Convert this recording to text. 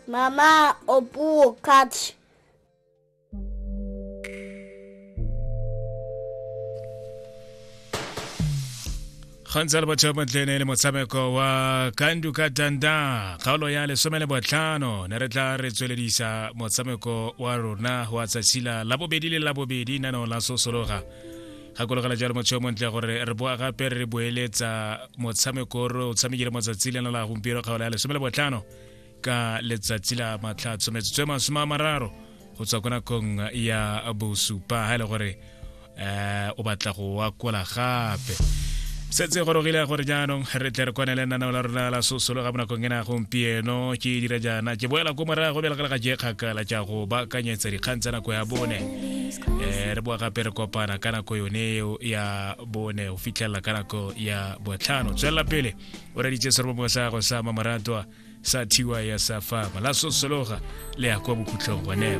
Mama Opuwo catch. Gantsi le batho ba tlene le motshameko wa Kandu ka Tanda, kgaolo ya 15. Ne re tla re tsweledisa motshameko wa rona wa tsatsi la labobedi le labobedi nano la sosologa. Gakologela jalo motho yo montle gore re boa gape re boeletsa motshameko re o tshamekile motsatsi lena la gompieno, kgaolo ya 15, ka letsatsi la matlhatso, metsotso e 30 go tswa ko nakong ya bosupa. Ha e le gore o batla go akola gape, setse gorogile gore jaanong re tle re kwane le nanao la rona la sosolo ga bonakong ena gompieno. Ke dira jaana, ke boela ko morago bjale ga je kgakala ja go baakanyetsa dikgang tsa nako ya bone. Re boa gape re kopana ka nako yone eo ya bone go fitlhelela ka nako ya botlhano. Tswelela pele o reditse serobongwe sa gago sa mamoratwa sa thiwa ya sa fama la sosologa le ya kwa bokhutlhong gone.